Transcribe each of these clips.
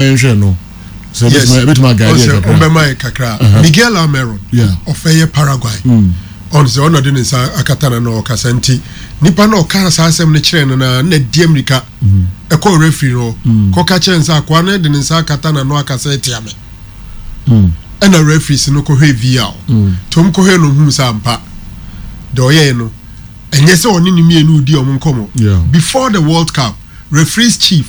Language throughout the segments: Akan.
Yɛnhwɛ no sɛ ebɛtumi aguide yɛ kakra. Ɔbɛma yɛ kakra. Miguel Almiron, ɔfɛ yɛ Paraguay, ɔno sɛ ɔna de ne nsa akata na ɔkasa, nti nipa na ɔka saa asɛm no kyerɛ no na di amirika ɛkɔ referee no kɔka kyerɛ nsa akoa no de ne nsa akata na no akasa ɛtia me. Ɛna referees no kɔhwɛ VAR nti wɔn kɔhwɛ no hu sɛ ampa deɛ ɔyɛɛ no, ɛnyɛ sɛ ɔne ne mmienu di ɔmo nkɔmɔ. Before the World Cup, referees chief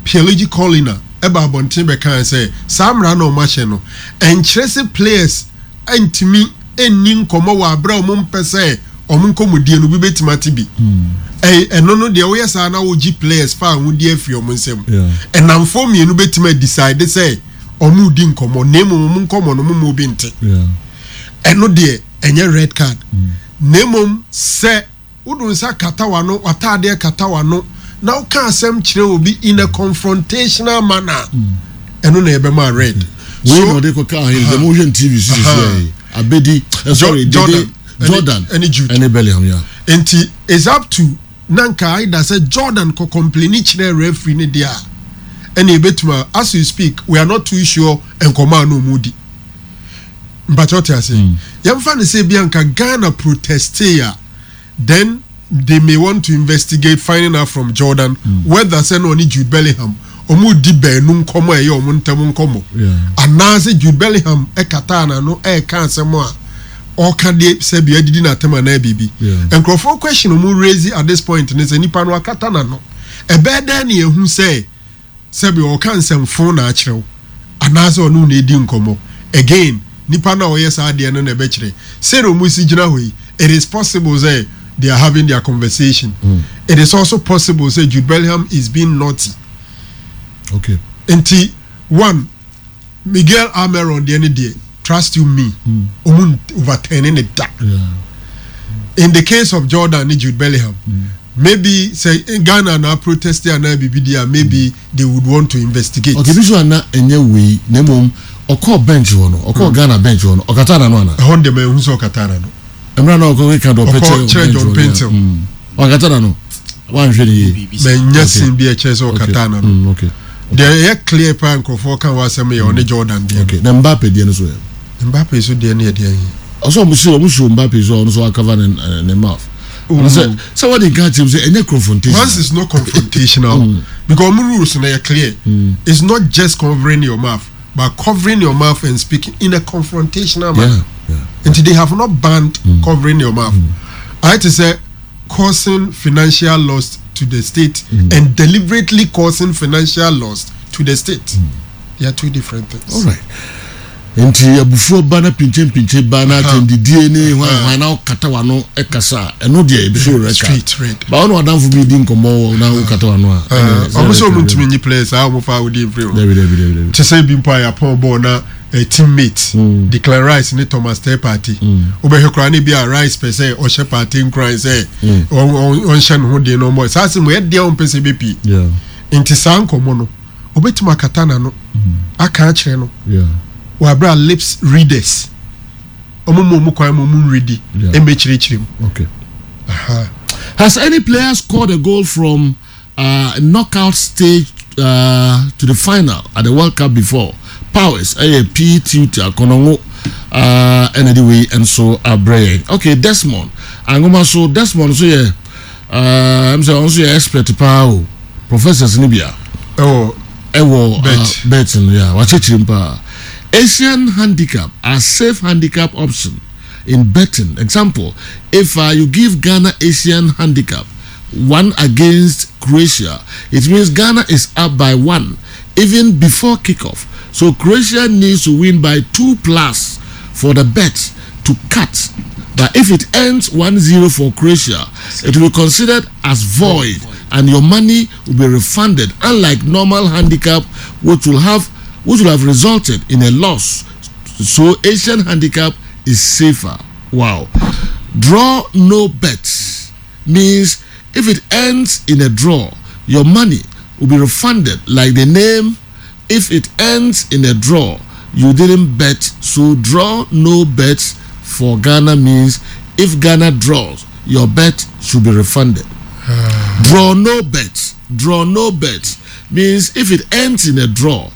Pierluigi Collina ɛba abɔnten bɛka sɛ saa mmara na ɔmo ahyɛ no ɛnkyerɛ sɛ players ntumi nni nkɔmɔ wɔ abere a ɔmo mpɛ sɛ ɔmo nkɔmɔdie no obi bɛtumi ate bi. Ɛno no deɛ, woyɛ saa na wogye players fa ahodie afiri ɔmo nsam. Ɛnamfoɔ mmienu bɛtumi adecide sɛ ɔmo di nkɔmɔ, na emu ɔmo nkɔmɔ no mo mu obi nte. Ɛno deɛ, ɛnyɛ red card, na emom sɛ wodo nsa kata w'ano, w'ataadeɛ kata w'ano na woka asɛm kyerɛ obi in a confrontational manner, ɛno na yɛbɛma red. Wei na ɔde kɔka ahene dɛm wohwɛ no TV so sisi yi abedi sorry. Jordan. Jordan. Ɛne Jude. Ɛne Bellingham ya. Nti it's up to na nka either sɛ Jordan kɔ complain kyerɛ referee ne deɛ a, ɛna ebetuma. As you speak, we are not too sure nkɔmɔ a na ɔmo di mpakyɛ ɔte ase. Yɛmfa ne sɛ bi anka Ghana proteste a, then they may want to investigate, finding out from Jordan whether sɛ na ɔne Jude Bellingham ɔmo di baanu nkɔmɔ a ɛyɛ ɔmo ntɛm nkɔmɔ anaasɛ Jude Bellingham ɛkata n'ano ɛɛka asɛm a ɔka deɛ sɛ bia didi n'atɛm anaa biribi. Nkurɔfoɔ question ɔmo raise at this point ne sɛ nipa no akata n'ano, ɛbɛɛ dɛn ne ehu sɛ sɛbi ɔka nsɛmfo na akyerɛw anaasɛ ɔno na edi nkɔmɔ? Again, nipa na ɔyɛ saa adeɛ no na ɛbɛkyerɛ sɛdeɛ ɔmo si gyina hɔ yi. It is possible sɛ they are having their conversation. It is also possible sɛ Jude Bellingham is being naughty. Nti one Miguel Almiron deɛ ne deɛ, trust you me, ɔmo overturn ne da. In the case of Jordan ne Jude Bellingham, maybe sɛ Ghana na protest anaa biribi di a, maybe they would want to investigate. Okay, bi so ana ɛnyɛ wei na mmom ɔkɔɔ bench hɔ no, ɔkɔɔ Ghana bench hɔ no, ɔkata n'ano ana? Ɛhɔ deɛ, ma ehu sɛ ɔkata n'ano. Mmerɛ na ɔkɔ keka dɔ ɔpɛ. Ɔkɔ kyerɛ John Paintsil. Ɔkata n'ano, wanhwɛ ne yie. Mɛ nyɛ sin bi ɛkyerɛ sɛ ɔkata n'ano. Deɛ ɛyɛ clear paa nkurɔfoɔ ka wɔ asɛm yɛ ɔne Jordan deɛ. Okay, na Mbappe deɛ no so yɛ? Mbappe so deɛ no yɛ deɛ yi. Ɔsɛ ɔmo si Mbappe so a, ɔno so acover ne mouth. Ɔno sɛ wɔde nka kyerɛ mu sɛ ɛnyɛ confrontation. Once it's not confrontational, because ɔmo rules no yɛ clear. It's not just covering your mouth, but covering your mouth and speaking in a confrontational manner. Nti they have not banned covering your mouth. Ayɛ te sɛ causing financial loss to the state and deliberately causing financial loss to the state. They are two different things. All right, nti abufuo ba na pinkyɛnpinkyɛn ba na atɛndidie ne hwan hwan na ɔkata w'ano ɛkasa a, ɛno deɛ ebi so red card. Straight red. Ba ɔno adamfo bi di nkɔmɔ wɔ na ɔkata w'ano a, ɛne ɔmo sɛ red ɔmo card. ntumi nyi players a ɔmo fa odi nfiri hɔ. Dabi, dabi, dabi, dabi. Te sɛ bi mpo a yɛapɔn bɔɔl na teammate Declan Rice ne Thomas Teye Partey, wobɛhwɛ koraa ne bi a Rice pɛ sɛ ɔhyɛ Partey nkuran sɛ ɔnhyɛ ne ho den na ɔmmɔ saa asɛm ɛyɛ deɛ ɔmpɛ sɛ ɛbɛpie. Nti saa nkɔmmɔ no, obɛtumi akata n'ano aka akyerɛ no wɔ abere a lips readers ɔmo mu ɔmo kwan mu ɔmo nredi ɛmbɛkyerɛkyerɛ mu. Aha. Has any player scored a goal from knockout stage to the final at the World Cup before? Powers, ɛyɛ P Tutor Konongo ɛna de wei nso abrɛ yɛn. Okay, Desmond Angoma so, Desmond nso yɛ sɛ ɔno nso yɛ expert paa o, professors ni bia. Ɛwɔ ɛwɔ bet. Bet no yɛ wakyerɛkyerɛ mu paa. Asian handicap are safe handicap option in betting. Example, if you give Ghana Asian handicap 1 against Croatia, it means Ghana is up by 1 even before kickoff. So Croatia needs to win by 2 plus for the bet to cut. But if it ends 1-0 for Croatia, it will be considered as void and your money will be refunded, unlike normal handicap, which will have resulted in a loss. So Asian handicap is safer. Wow. Draw no bets means if it ends in a draw, your money will be refunded. Like the name, if it ends in a draw, you didn't bet. So draw no bets for Ghana means if Ghana draws, your bet should be refunded. Draw no bets. Draw no bets means if it ends in a draw,